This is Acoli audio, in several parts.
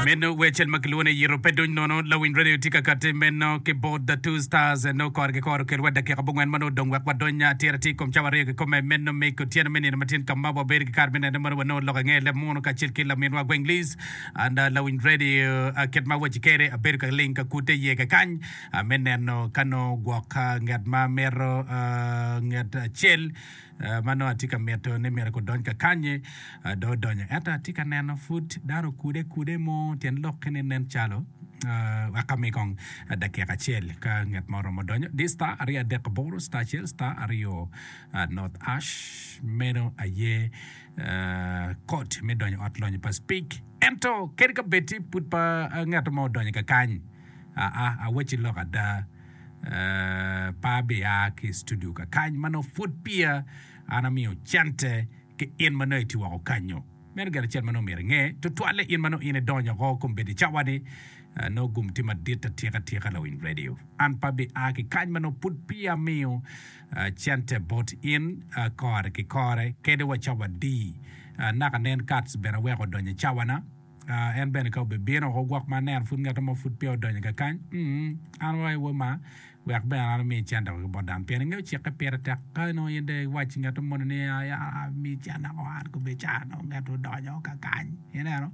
Meno wer acel ma kilwongo ni Yito Pe Duny Nono. Lawiny Radio tye ka kati meno ki bot The Two Stars nongo kore ki kore okel wa dakika abongwen ma nongo odong wek wadony atir atir i kom cawa aryo kikome meno me otyeno me nino matin ka ma wabedo ki kare me nene mono wanongo lok ange leb muno kacel ki laminwa Gweng Liz and Lawiny Radio kit ma awaci kede abedo ka ling ka kute iye kakany me neno ka nongo gwok nget ma mito nget acel ma nongo atye ka mito ni myero gudony kakannyi dong odonyo. Ento atye ka neno pud dano okude kude mo tyen lokke ni nen calo wek ami kong dakika acel ka nget mo oromo donyo. Di star 238 star acel star aryo north ash meno aye kod me donyo ot lonyo pa Speke. Ento kadi ka bed ti pud pa nget mo odonyo kakany aa awacci lok ada. Pe abia ki i studio kakany ma nongo pud peya an amiyo cente ki in ma nongo itye woko kanyo. Meno gin acel ma nongo myero inge, tutwalle in ma nongo in idonyo oko kombeddi cawa-ni nongo gum tye madit atika tika lawiny radio. An pe abia ki kany ma nongo pud peya amiyo cente bot in kore ki kore kadi wa cawa adi. Naka nen Kats bene aweko odonyo i cawana. En bene ka obibino woko gwok ma aneno pud ngat mo pud peya odonyo kakany, an wa i woma wek bene an ami cente woko ki bot dano pien ingeyo cikke pire tek ka nongo in dong iwaco ngat moni ni ami cente woko an kobedi ca nongo ngat odonyo kakany ineno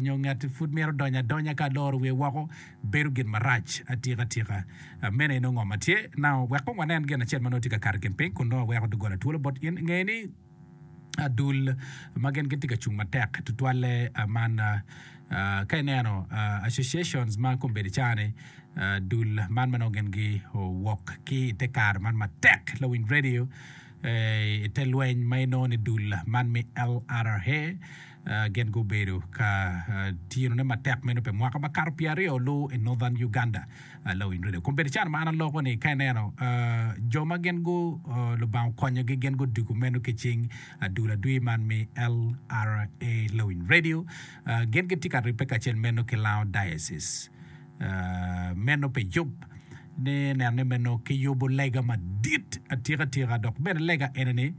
nyo ngat pud mito donyo adonya ka aloro wiye woko bedo gin marac atika tika meno aye nongo ngo ma tye now wek kong wanen gin acel ma nongo tye ka kato i kin piny kun nongo aweko doggola twolo bot in inge ni Adul ma gin gitye ka cung matek tutwalle man ka ineno associations ma kombeddi cani dul man ma nongo gin giwok ki i te kare man matek lawiny radio i te lweny ma inongo ni dul man me LRA gin gubedo ka tinone matek meno pi mwaka makato pyeraryo lu i Northern Uganda. Lawiny radio. Kombeddi caro ma an aloko ni ka ineno jo ma gin gu Lubanga okonyogi gin gudugo meno ki cing dul adwi man me LRA Lawiny radio gin gitye ka ribbe kacel meno ki Lango Diocese meno pi yub ni neno ni meno ki yubo lega madit atika tika dok bene lega eni ni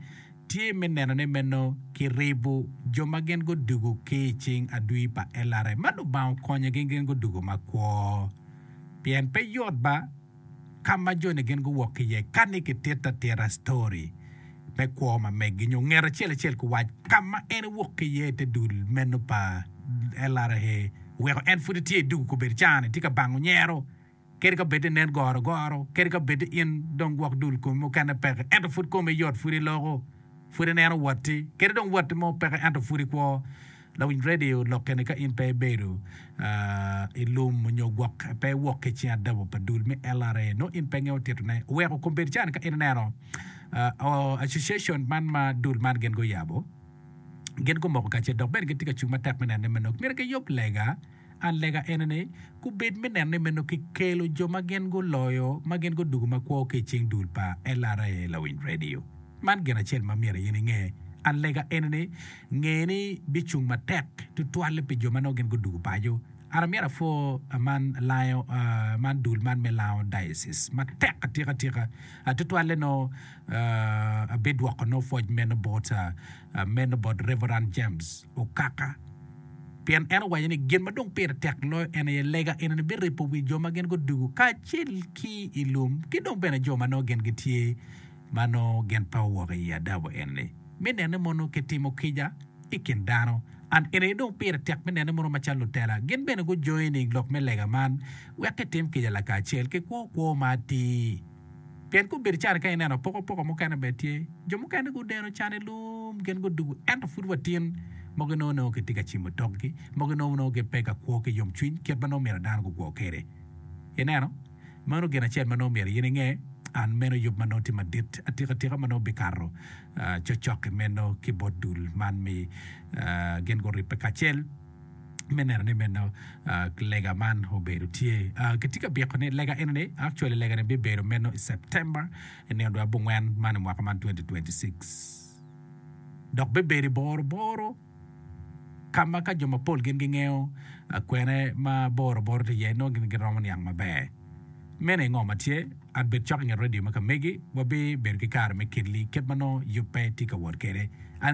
tye me neno ni meno ki ribo jo ma gin gudugo ki i cing adwi pa LRA ma Lubanga okonyogi gin gudugo makwo. Pien pe yot ba ka ma joni gin guwok ki iye ka ni kitito atita story me kwo ma meggi nyo nget acel acel kuwac ka ma en ewok ki iye ite dul meno pa LRA weko en pud etye idugu kobedo cani tye ka bango nyero kadi ka bed ni nen goro goro kadi ka bed ni in dong gwok dul komi mukene peke ento pud komi yot pud iloko pud ineno watti kadi dong watti mo peke ento pud ikwo. Lawiny radio lokke ni ka in pe ibedo i lum nyo gwok pe iwok ki cing adabo pa dul me LRA nongo in pe ingeyo tito ne. Oweko kombeddi cani ka in ineno association man ma dul man gin guyabo gin gumoko kacel dok bene gitye ka cung matek me neno ni meno myero giyub lega an lega ene ni gubed me neno ni meno kikelo jo ma gin guloyo ma gin gudugo makwo ki i cing dul pa LRA lawiny radio. Man gin acel ma myero in inge. An lega eni ni, nge ni bicung matek tutwalle pi jo ma nongo gin gudugo paco. An amyero apwo man lango man dul man me Lango Diocese matek atika tika. Tutwalle nongo abidwoko nongo pwoc meno bot meno bot Reverend James Okaka pien en owaco ni gin ma dong pire tek loyo en aye lega eni ni biripo wi jo ma gin gudugo kacel ki i lum ki dong bene jo ma nongo gin gitye ma nongo gin pe owok i adabo eni me nene mono kitimo kica i kin dano. And eni aye dong pire tek me nene mono macalo lutela gin bene gu joining lok me lega man wek kitim kica lakacel ki kwo kwo ma atir. Pien gubedo cani ka ineno apokapoka mukene bene tye, jo mukene gudeno can i lum gin gudugo ento pud wa tin mogo inongo nongo kitye ka cimo tokgi, mogo inongo nongo gipe ka kwo ki yomcwiny kit ma nongo myero dano gukwo kwede. Ineno? Meno gin acel ma nongo myero in inge, an meno yub ma nongo tye madit atika tika ma nongo bikato cokcok-ki meno ki bot dul man mi gin guribbe kacel me neno ni meno lega man obedo tye. Kitye ka byeko ni lega eni-ni actually lega ni bibedo meno i September i nino dwe abongwen man i mwaka man 2026 dok bibedo i boro boro. ka ma ka jo mapol gin gingeyo kwene ma boro boro tye iye, nongo gin giromo niang maber. Meno aye ngo ma tye. An bed cok i nget redio ma ka megi, wabibedo ki kare me kelli kit ma nongo yubbe tye ka wot kwede. An.